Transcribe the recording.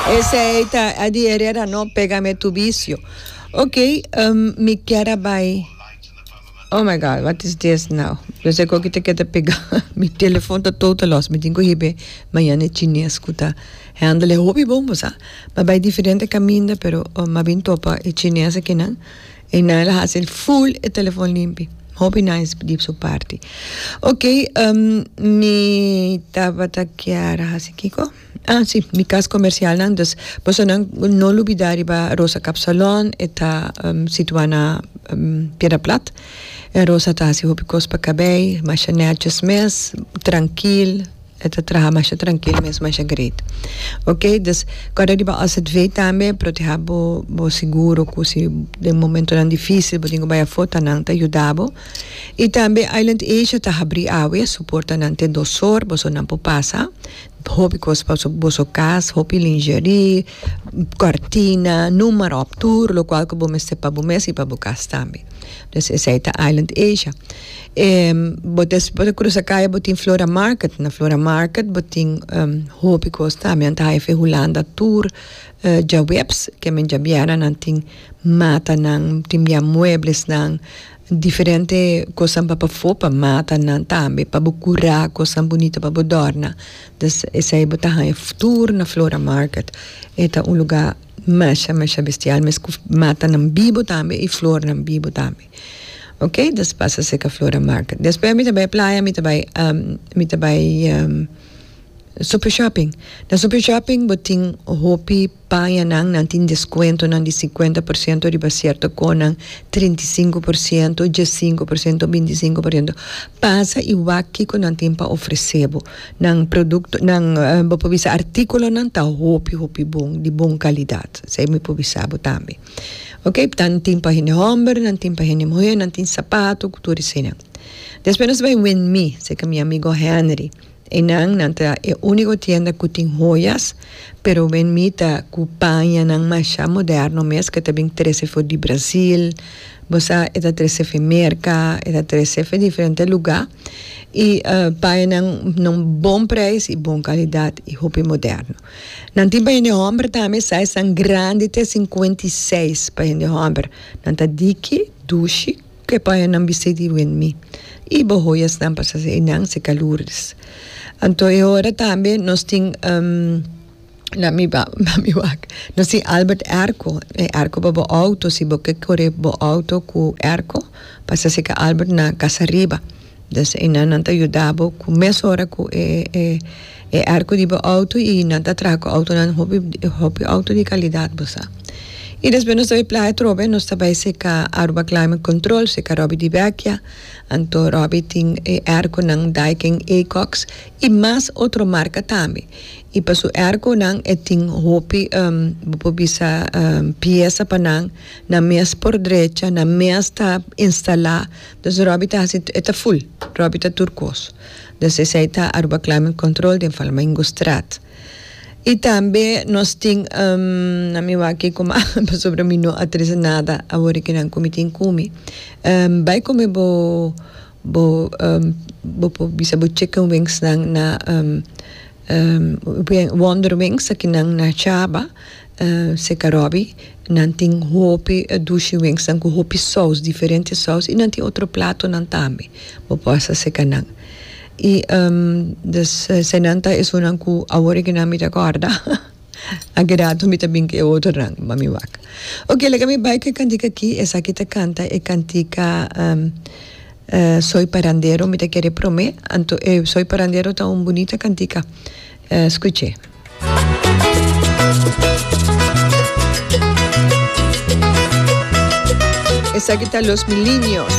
Esei ta Eddie Herrera no Pégame tu vicio. Ok, mi kier a bai. Oh my God, what is this now? Yo sé koki ta keda pega. Mi telefon ta total lost. Mi tin ku hibe mañana e chines ku ta handle e hopi bon bo sa. Mi a bai diferente kaminda pero mi a bin topa e chines akinan. E nan el a hasi full e telefon limpi. Hopi nice di su parti. Ok, mi tabata kier a hasi kiko? Ah si, mi kas komersialnan. Dus bosonan no lubida riba Rosa Kapsalon, e ta situá na Piedra Plat. E Rosa ta hasi hopi kos pa kabei, masha nètjes mes, trankil, e ta traha masha trankil mes, masha great. Ok, dus kòrda riba OZV tambe, protehá bo bo seguro ku si den momentonan difísil bo tin ku bai afó ta nan ta yuda bo. I tambe Island Asia ta habrí awe, su portanan te dos or, bosonan por pasa. Hopi kos pa boso kas, hopi lingerie, kortina, noem maar op, tur lokual ku bo mester pa bo mes i pa bo kas tambe. Dus esei ta Island Asia. Bo ta bo ta krusa kaya bo tin Flora Market, na Flora Market bo tin hopi kos tambe, nan ta haya fe Hulanda tur djaweps, ke men djabièrnè nan tin matanan, tin bia mueblesnan. Diferente kosnan pa pafó pa matanan tambe pa bo kurá kosnan bunita pa bo dòrna. Dus esei bo ta haña tur na Flora Market. E ta un lugá masha masha bestial mes ku matanan bibu tambe i flornan bibu tambe. Oke dus pasa serka Flora Market. Despues mi ta bai playa mi ta bai mi ta bai Super Shopping. Na Super Shopping bo tin hopi. Pañanan, nan tin deskuentonan di sinkuenta por siento riba sierto konan, 35%, 15%, 25%. Pasa i wak kiko nan tin pa ofresé bo. Nan produkto, nan, bo por bisa artíkulonan ta hopi, hopi bon, di bon kalidat. Esei mi por bisa bo tambe. Oke, nan tin pa hende hòmber, nan tin pa hende muhé, nan tin sapato ku tur eseinan. Despues nos bai Winmi, serka mi amigo Henry. Einan nan ta e úniko tienda ku tin hoyas, pero wen mi ta ku pañanan masha moderno mes ku e ta bin trese for di Brazil, bo sa e ta trese for Merka, e ta trese for diferente lugá i pañanan na un bon preis i bon kalidat i hopi moderno. Nan tin pa hende hòmber tambe, saisnan grandi te 56 pa hende hòmber, nan ta diki, dushi. Ke paña nan bisti di wen mi i bo hoyasnan pasa einan seka Lourdes. Anto e ora tambe nos tin la mi ba mi wak nos tin Albert Airco e airco pa bo auto si bo ke kore bo auto ku airco pasa seka Albert na Casa Riba. Dus einan nan ta yuda bo ku mesora ku e e e airco di bo auto y nan ta traha ku autonan hopi hopi auto di calidad bo sa. Y despues nos ta bay playa atrobe nos ta bay seca Aruba Climate Control seca Robby di Vecchia anto Robby tin e airconan Daikin Ecox y mas otro marca tambe y pa su airconan e tin hopi bo por bisa pieza pa nan nan mes por drecha nan mes ta instala Dus Robby ta hasi e ta full Robby ta tur kos dus esei ta Aruba Climate Control den Flamingostraat y tambe nos tin na mi wak kiko mas pasobra mi no a trese nada awor e kinan ku mi tin ku mi bai kome bo bo bo por bisa bo chicken wings nan na Wonder Wings akinan na Chaba. Seca Robbie, nan tin hopi dushi wingsnan cu hopi saus, diferente saus y nan tin otro platonan tambe. Bo por hasta seca nan. Y dus eseinan ta esunnan cu awor e nan mi ta corda. Aki rato mi ta bin cu e otronan pa mi wak. Ok, laga mi bai cu e cantica aki. Esaki ta canta e cantica Soy Parandero, mi ta kere prome. Anto e Soy Parandero ta un bunita cantica. Scuch'e. Esaki ta Los Milinios.